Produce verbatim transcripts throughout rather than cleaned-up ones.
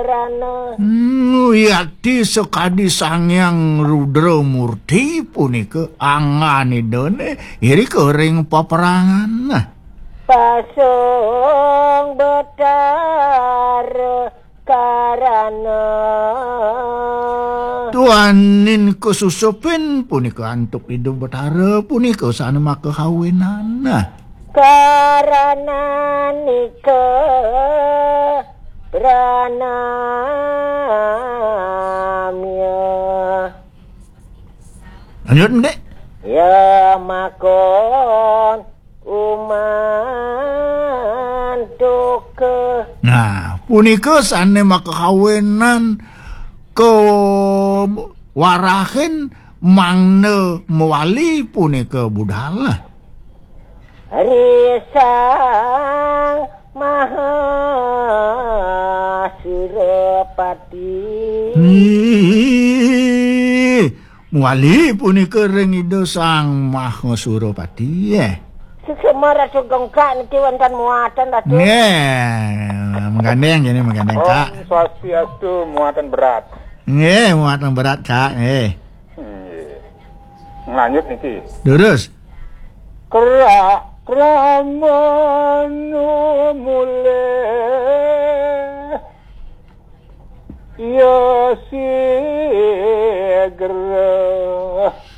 Rana. Hmm, yati sakadi Sang Hyang Rudra Murti punika anggan Idane irika ring paperangan. Pasang Betara Karana. Duaning kasusupin punika antuk Ida Betara punika sane makahawinan. Karana nika pranamya. Lanjut, Dik. Ya makon umantuka. Nah, punika sane makahawinan kawarahin mangda mawali punika budal. Ri Sang Maha Surapati. Ih, mawali punika ring Ida Sang Maha Surapati, eh. Suksma Ratu Gengkak niki wonten muatan, Ratu. Nggih, menggandeng jane, menggandeng, Kak. Om Swastiastu, muatan berat. Nggih, muatan berat, Kak, nggih. Nggih. Lanjut niki. Durus. Kra-, kramanu mule ya sigra.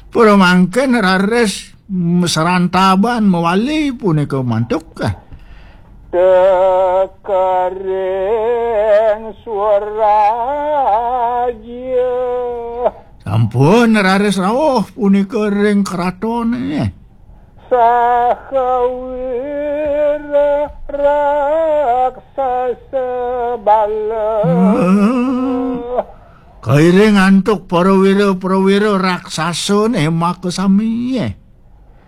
Pura mangkin raris m-, serantaban mawali punika mantuk. Tekaring Swarajya. Sampun raris rauh punika ring kratone. Sahawira raksasa bala. Hmm. Kairing antuk para wira-prawira raksasane makasami.